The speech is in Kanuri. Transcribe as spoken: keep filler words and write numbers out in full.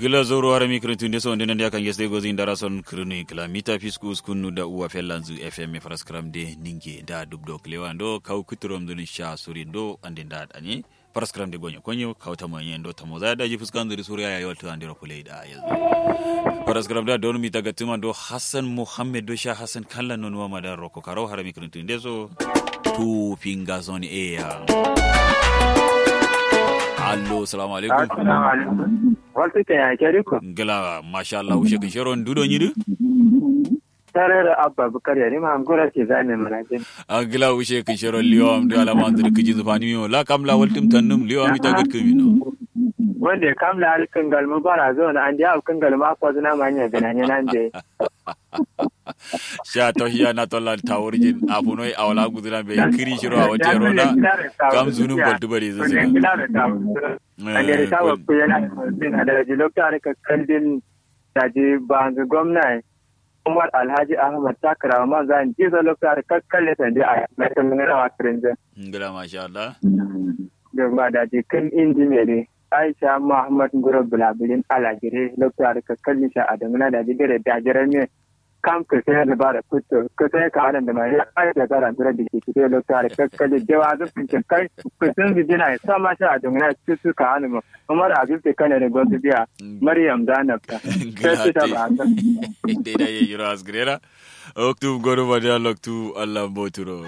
Gla zauro harami kǝrǝntǝ nde so nde nande akan yesde gozi ndara son kǝrǝnu kǝla mita fisku uskunnu da uwa fellanzǝ fm faraskram de ninge da dubdo kǝlewa ndo kawu kǝtǝrom dǝnin sha suri ndo ande nda danye. Faraskram de gonyo konyo kawu tamo nye ndo tamo zaya daji fuskanzǝ de suri aya yolto andero fulai da yanzu. Faraskram da donu mita gattuma ndo hassan muhammed do sha hassan kallan nonuwa madan roko karau harami kǝrǝntǝ nde so. Tu fingas on air. Allo salamu alaikum. Waltu ke ya ke diko. Ngla masha Allah ushe kǝn shero ndu do nyi dǝ. Tarere abba bukar ya rima ngura ke zane mana jin. Ngla ushe kǝn shero liyo am dǝ alama ndu dǝ kǝjin zǝfani miyo la kam la waltum tannum liyo am ita gǝt kǝmi no. Wande kam la alkǝn galmu bara zo na ande alkǝn galmu akwa zuna manya gana nyanande. Sha tauhiya na tollan tawurjin afunoi awala guzuna be kǝri shiro awo tero na. Kam zunun kwaltu bari zǝzǝna. Ande da tawa kuyena. Zina da ji lokta da kakkandin. Da ji banzǝ gomna ye. Umar alhaji ahmad takara ma zan jizo lokta da kakkalle sandi a mai kan ngana wa krinzin. Ngla masha Allah. Dogma da ji kǝn indi mere. Aisha muhammad nguro bulabirin alajire lokta da kakkalle sha adamuna da ji dare da jiran me. Kam kǝsǝn dǝbara kuttu kǝsǝn kawalan dǝ ma ya aisha gara ndura dǝ kǝsǝn dǝ lokta da kakkalle dewa zǝ kǝsǝn kai. Kǝsǝn zǝ dina ya sama sha adamuna kǝsǝn kawalan ma. Umar abib te kane da gosu biya. Maryam da nafta. Sai su ta ba ta. Dai dai ya yiro asgirera. Oktu godo badiya loktu allah boturo.